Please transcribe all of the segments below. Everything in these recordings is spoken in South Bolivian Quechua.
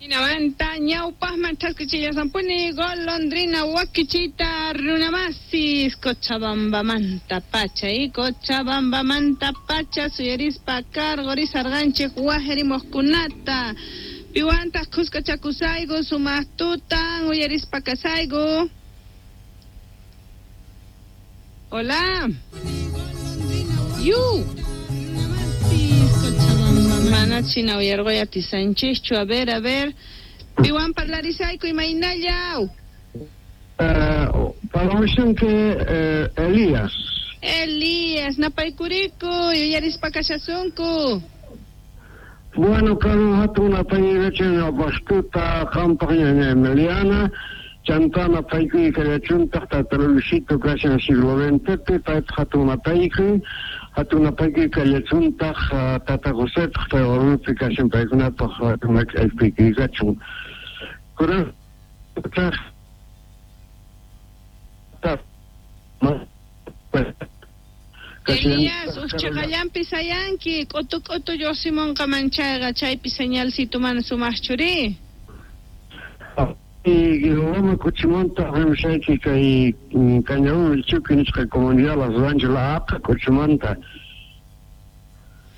Jinamanta ñawpaqman thaskichillasanpuni golondrina wakichita runamasis Cochabambamanta pacha y Cochabambamanta pacha suyarispa karqurisarqanchik wajerimuqkunata piwantaq khuskachakusayku sumaq tutan uyarispa kasayku. Hola. Yu. Mana china uyarqoy atisanchikchu. A ver, a ver. Piwan parlarisayku imaynallaw. Parlamushanki Elías. Elías, napaykuriku, yuyarispa kashasunku. Bueno, kanan hatun napaykuykachan ñawpaqtuta qampaq ñaña Emiliana, chantá napaykuy kallachuntaq tata Luisito kashan siglo XXpi, paypaq hatun napaykuy, hatun napaykuy kallachuntaq tata Josepaq pay Oruropi kashan paykunapaq hatun napaykuykachun. Kunantaq Elías, uj cheqallanpi sayanki, k'utu k'utu lluqsimunqaman chayqa, chaypi señalcito mana sumaqchu ri. Loma k'uchumanta rimushayki kay Cañadón Chuqui nisqa comunidad Las Rancho La Aqa k'uchumanta.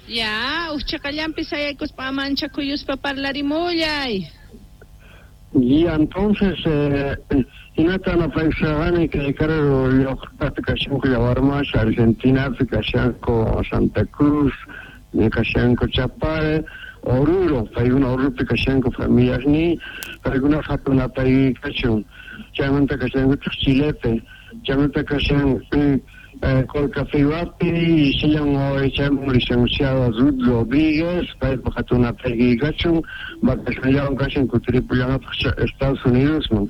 Ya, uj cheqallanpi sayaykuspa manchakuyuspa parlarimullay. Y entonces, hinata napaykusharqani kay karu llaqtapi kashanku Yawarmash, Argentinapi kashanku Santa Cruz, kashanku Chapare, Oruro, paykuna Oruropi kashanku familiasniy, paykuna hatun napaykuykachun, chaymanta kashankutaq Chilepi, chaymanta kashan Colcafehuapi, sillan chayman licenciada Ruth Rodríguez, paypaq hatun napaykuykachun, vacacionllawan kashan kutiripullanqataq Estados Unidosman,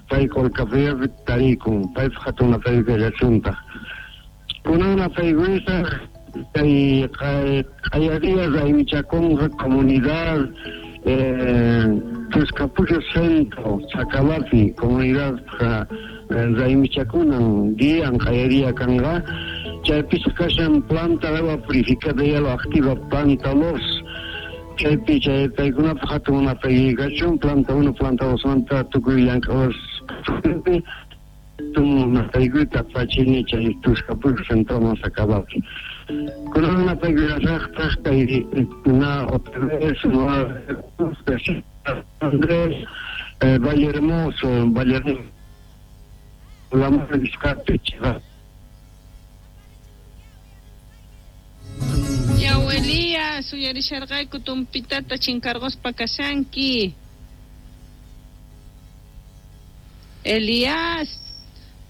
pay Colcafehuapi tarikun, paypaq hatun napaykuykallachuntaj. Kunan napaykuytaq kay q'ayariya raymichakunqa comunidad Tuscapucho Centro, Sacalapi, comunidad raymichakunan dian q'ayariya kanqa, chaypis kashan planta de agua purificada y agua activa planta 2, chaypi chay paykunapaq hatun napaykachun planta 1, planta 2 manta tukuy llank'awas napaykuyta apachini chay Tuscapucho Centro Sacalapi. Kunan napaykuyasaqtaq kay na otra vez Andrés Valle Hermoso, Valle Hermoso, la nisqapi. Yaw Elías, uyarisharqayku tumpitata chinkarquspa kashanki. Elías,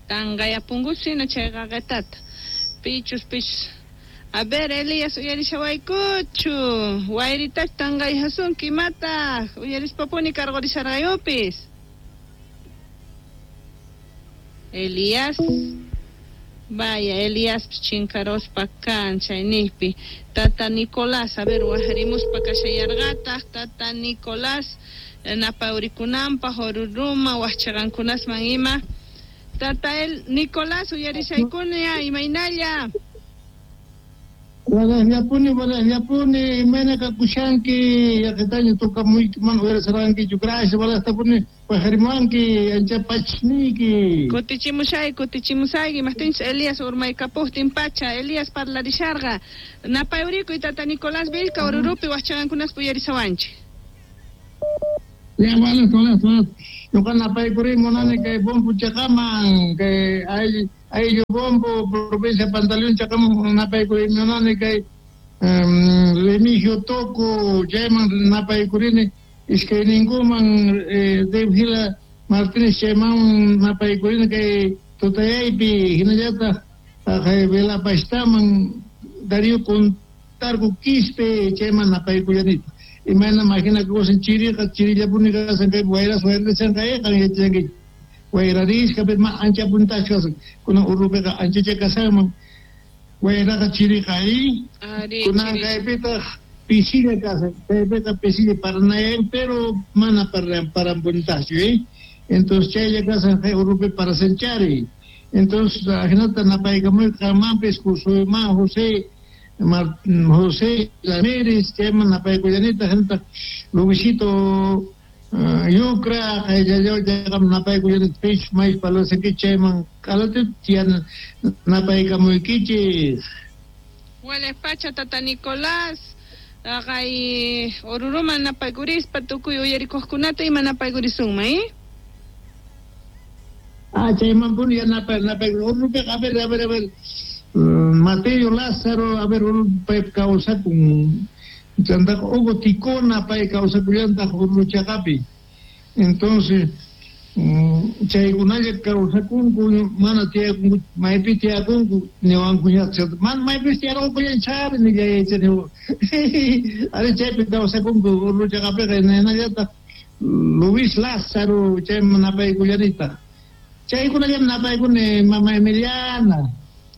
tanqayapunkusina chay qaqetata. Pichus, pichus. A ver, Elías, uyarishawaykuchu. Wayritach tanqayhasunki imataq. Uyarispapuni karqurisharqayupis. Elías. Vaya, Elías chinkaruspa kan chayniqpi. Tata Nicolás, a ver, wajarimuspa kashayarqataq. Tata Nicolás, napawrikunanpaq, Oruruma, wajchaqankunasman ima. Tata el Nicolás, uyarishaykuna, imaynalla. Walajllapuni, imayna kakushanki, yaqitaña tukamuyki mana uyarisarqankichu. Gracias, walajtapuni wajarimuwanki, ancha pachniyki. Kutichimushay, kutichimusayki, imajtinchus Elías urmaykapuqtin pacha, Elías parlarisharqa. Napayurikuy tata Nicolás Vilca, Orurupi wajchaqankunaspa uyarisawanchik. Ya, walaj, walaj, walaj. Ñuqa napaykuri munani kay Bombo chaqaman, kay ayllu Bombo, provincia Pantaleón chaqaman napaykuri munani kay Remigio Toco, chayman napaykurini iskayninkuman Devgila Martínez chayman napaykurini kay tutayaypi, hinallataq kay Velapashtaman Darío Contarco Quispe chayman napaykullanita. Imayna imagina kusan chiriqa chirillapuni kasan kay wayras wayrachan kayqa yachanki wayrarisqa pero ma ancha puntachkas kunan Urupiqa anchacha kasanman wayraqa chiriqa ahí kunan kaypitaq pisilla kasan kaypiqa pisilla paranayan pero mana parampuntachu entonces chaylla kasan kay Urupi parasanchari entonces ajinata napaykamuy qanmanpis Josué José José Ramírez, chayman napaykullanita, hinataq Luisito Yucra qayllallaw chaqam napaykullani pich maych palasakichik chayman k'alatip napaykamuykichik. Walej pacha tata Nicolás, haqay Oruruman napaykurispa tukuy uyarikuqkunata ima napaykurisunman, eh? Ah, chaymanpuni yanapay Orurupiqa a ver, a ver, a ver, Mateo Lázaro, a ver, pay kawsakun, chantaqa Hugo Ticona pay kawsakullantaq Oruro chaqapi. Entonces, chaykunalla kawsakunku, mana tiyakunku, maypi tiyakunku, niwankuñataq, mana maypis tiyarqunkuña chari nillay ari chaypi kawsakunku Oruro chaqapiqa, hinallataq Luis Lázaro chayman napaykullanitaq. Chaykunallam napaykuni mama Emiliana.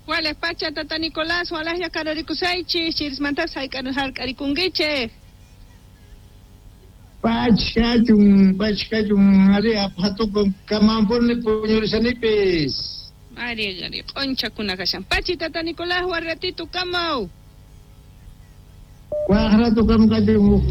Walej pacha tata Nicolás, walejlla kararikusaychik, chirismantapas hark'arikunkichik. Pachkachun, pachkachun, ari apatukun kamampuni puñurishanipis. Ari, ari, q'unchakuna kashan. Pachi tata Nicolás, waj ratito kamaw. Waj rato kam kachun.